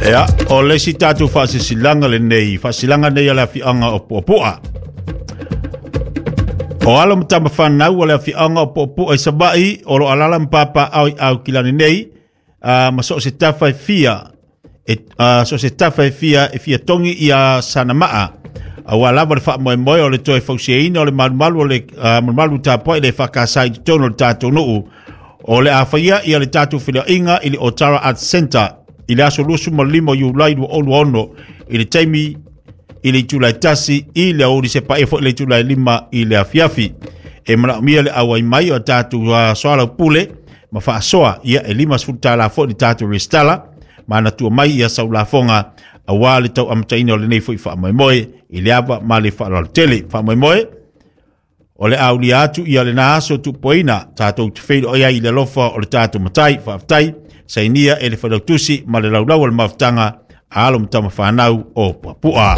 Ia, o le isi tatou faasilasilaga lenei, faasilasilaga nei a le afioaga o Puapua. O alo ma tama fanau o le afioaga o Puapua i Savaii o lo o alaala ma papaaao i Aukilani nei, ma so o se tafa e fia e, so o se tafa e fia e fia togi ia sana maa aua lava le faamoemoe o le toe fausiaina o le malumalu o le malumalu tapuai le faakasa i totonu o le tatou nuu. O le a faia ia le tatou feiloaiga i le Otara Arts Centre i le aso 25 o Iulai 2026 i le taimi i le itula e 1 i le aoauli sepaia foi le itula e 5 i le afiafi. E manaomia le auai mai o tatou soalaupule ma faasoa, ia e $50 foi le tatou resitala, manatua mai ia saulafoga aua le tau amataina o lenei foi faamoemoe i le ava ma le faaaloalo tele. Faamoemoe o le aulia atu ia lena aso tupuaina tatou te feiloai ai i le alofa o le tatou Matai. Faafetai. Sainia e le Failautusi ma le Laulau o le Mafutaga a alo ma tama fanau o Puapua.